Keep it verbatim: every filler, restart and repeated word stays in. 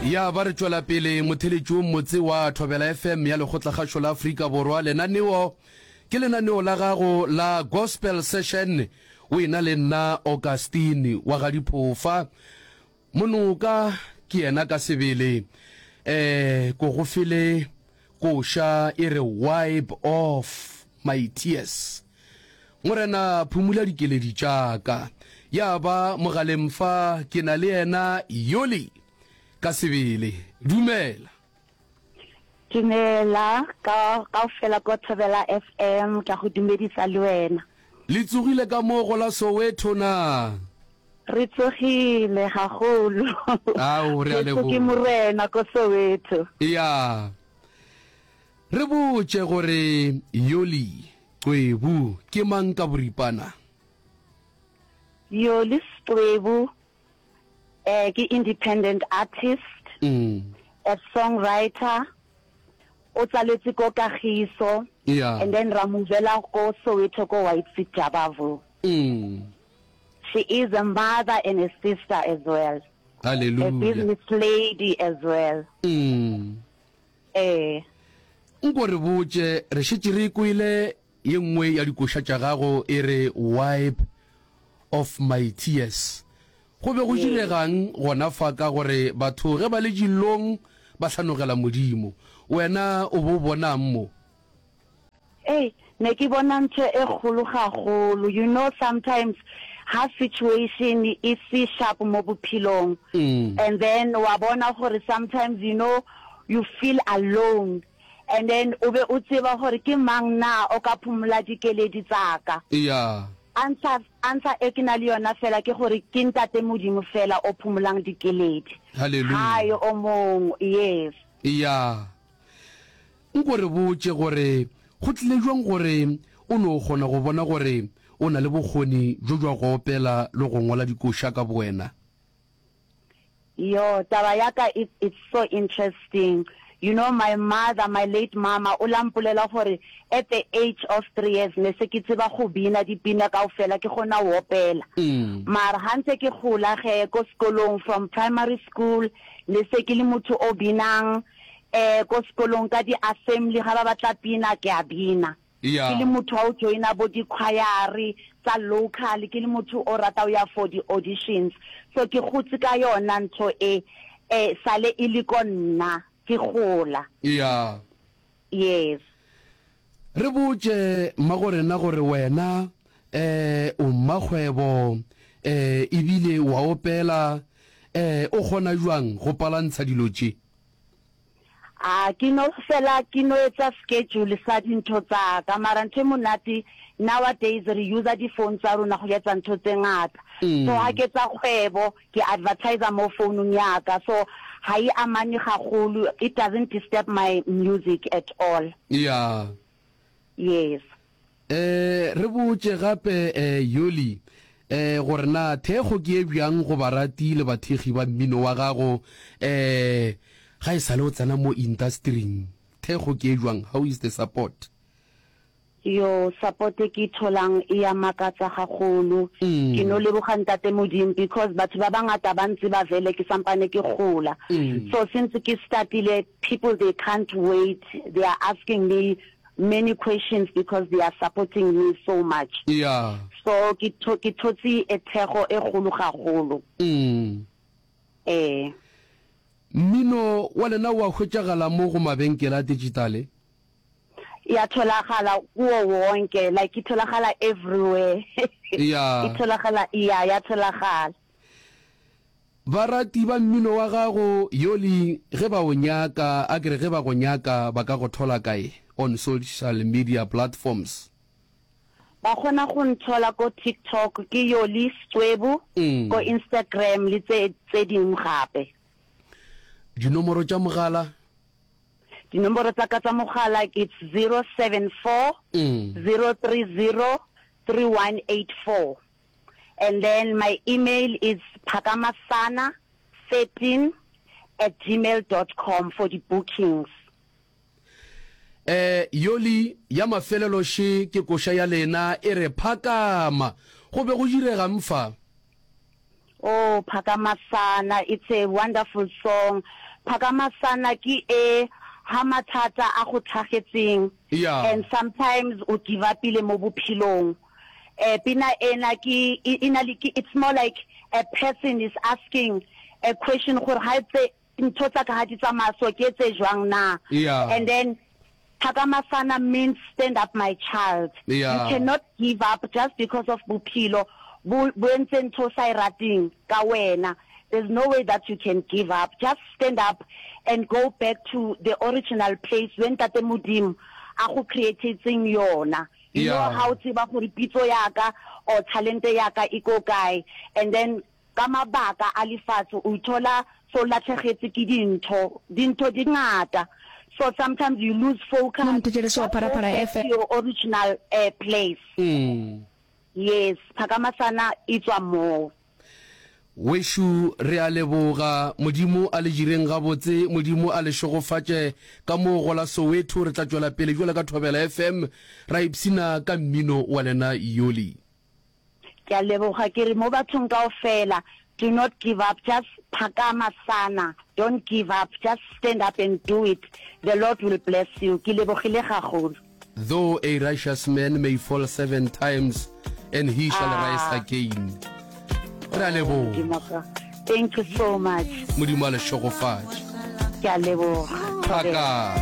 Ya ba re tšwela pele motheletši wo mmotse wa Thobela F M ya Lekgotlakgašo la Afrika Borwa. Lenaneo ke lenaneo la gago la Gospel Session o ena le nna Augustine wa ga Diphofa. Monoka ke yena ka sebele um ko go fele koša e re "Wipe Off My Tears", Morena phumula dikeledi tša ka. Ya ba mogaleng fa ke na le yena Yoli ka sebele. Dumela. Dumela ka kaofela ko Thobela F M, ka go dumedisa le wena. Le tsogile ka mo go la Soweto na? Re tsogile gagolo. Ao, re a Jesu ke leboga. Morena ko Soweto. Ya re botše gore Yoli Cwebu ke mang ka boripana. Yoli Cwebu eh ke independent artist, mm. a songwriter, o tsaletse ko Kagiso ya and then ra movela ko Soweto, ko White City, Jabavu. mm. She is a mother and a sister as well, a Hallelujah. business lady as well. mm. Eh nko re botše, re šetše re kwele ye nngwe ya dikoša tša gago e re "Wipe Off My Tears". Go be go yes diregang gona fa? Ka gore batho ge ba le dillong ba hlanogela Modimo, wena o bo bonang mo? Hey, ne ke bona ntho e kgolo gagolo. You know sometimes ha situation e se sharp mo bophelong mm. and then wa bona gore sometimes you know you feel alone and then o be o tseba gore ke mang na o ka phomola dikeledi tsaka. Ya answer answer e ke na le yona fela ke gore ke Ntate Modimo fela o phomolang dikeledi. Hallelujah. Hae o mong, yes. Ya, nko re botše gore go tlile jwang gore o no kgona go bona gore o na le bokgoni bjo jwa go opela le go ngwala dikoša ka bowena. Yo, taba ya ka, it, it's so interesting. You know, my mother, my late mama, o la mpolela gore at the age of three years ne se ke tseba go bina dipina kaofela, ke kgona ho opela. Mm. Mara ha ntse ke gola ge ko sekolong, from primary school, ne se ke le motho o binang eh ko sekolong, ka di-assembly ga ba batla pina ke a bina. Ke ya le motho wa o joina bo di-choir tsa local, ke le motho o rata o ya for di-auditions. So ke gotse ka yona ntho e eh sale e le ko nna ke gola. Ya yes. Re botše mmagorena gore wena eh o mmakgwebo eh ebile wa opela, eh o kgona jwang go palantsha dilo tše? A ke no fela ke no etsa schedule sa dintho tsa ka, mara ntho e monate, nowadays re usa di-phone tsa rona go etsa ntho tse ngata. So ha mm. ke tsa kgwebo, ke advertisa mo founung ya ka, so ha e amane gagolo, it doesn't disturb my music at all. Ya yes. eh re botše gape eh Yoli eh gore na thekgo ke e bjang go barati le bathekgi ba mmino wa gago eh ga e sale o tsena mo industryng? Thekgo ke e jwang? How is the support? Yo, support e ke e tholang e ya makatsa gagolo. Ke no mm. leboga Ntate Modimo because batho ba bangata ba ntse ba vele ke sampane ke gola. Mm. So since ke startile, people, they can't wait, they are asking me many questions because they are supporting me so much. Ya so ke tho ke thotse e thego e kgolo gagolo. mm. Eh mmino wa lena wa hwetšagala mo go mabenkele a digitale? Ya tholagala kuwo wonke, like e tholagala everywhere. Ya e tholagala, ya ya tholagala. Barati ba mmino wa gago Yoli ge ba o nyaka, a kere ge ba go nyaka, ba ka go thola kae on social media platforms? Ba kgona go nthola ko TikTok, ke Yoli Cwebu, mm. ko Instagram le tse tse dingwe gape. Dinomoro tša mogala? Dinomoro tsa ka tsa mogala, it's zero seven four mm. zero three zero three one eight four, and then my email is phakamasana thirteen at gmail dot com for the bookings. eh Yoli, ya mafelelo še ke koša ya lena e re "Phakama". Go be go diregang fa? Oh, Phakamasana, it's a wonderful song. Phakamasana ke e ha mathata a go tlhagetseng Yeah. and sometimes o give upile mo bophelong. Eh pina ena ke e e na le ke it's more like a person is asking a question gore ha tse ntho tsa ka ha di tsamaya so ke etse jwang na. Yeah. And then Phakamasana means stand up my child. Yeah. You cannot give up just because of bophelo bo bo entse ntho o sa e rateng ka wena. There's no way that you can give up. Just stand up and go back to the original place when Ntate Modimo a go createtseng yona. You know Yeah. ha o tseba gore pitso ya ka or talente ya ka e ko kae, and then ka mabaka a lefatshe o ithola so latlhegetse ke dintho, dintho di ngata. So sometimes you lose focus. Mo Mthetheleso wa Just go Phalaphala back F M. to your original uh, place. Mm. Yes, Phakamasana e tswa moo. Wešo re a leboga, Modimo a le direng gabotse, Modimo a le šegofatše ka moo go la Soweto. Re tla tšwela pele bjalo ka Thobela F M ra ipshina ka mmino wa lena Yoli. Ke a leboga, ke re mo bathong kaofela, do not give up, just phakamasana, don't give up, just stand up and do it, the Lord will bless you. Ke lebogile gagolo. Though a righteous man may fall seven times, and he shall Ah. rise again. Re a leboga. Modimo wa ka. Thank you so much. Modimo a le šegofatše. Ke a leboga. Phaka.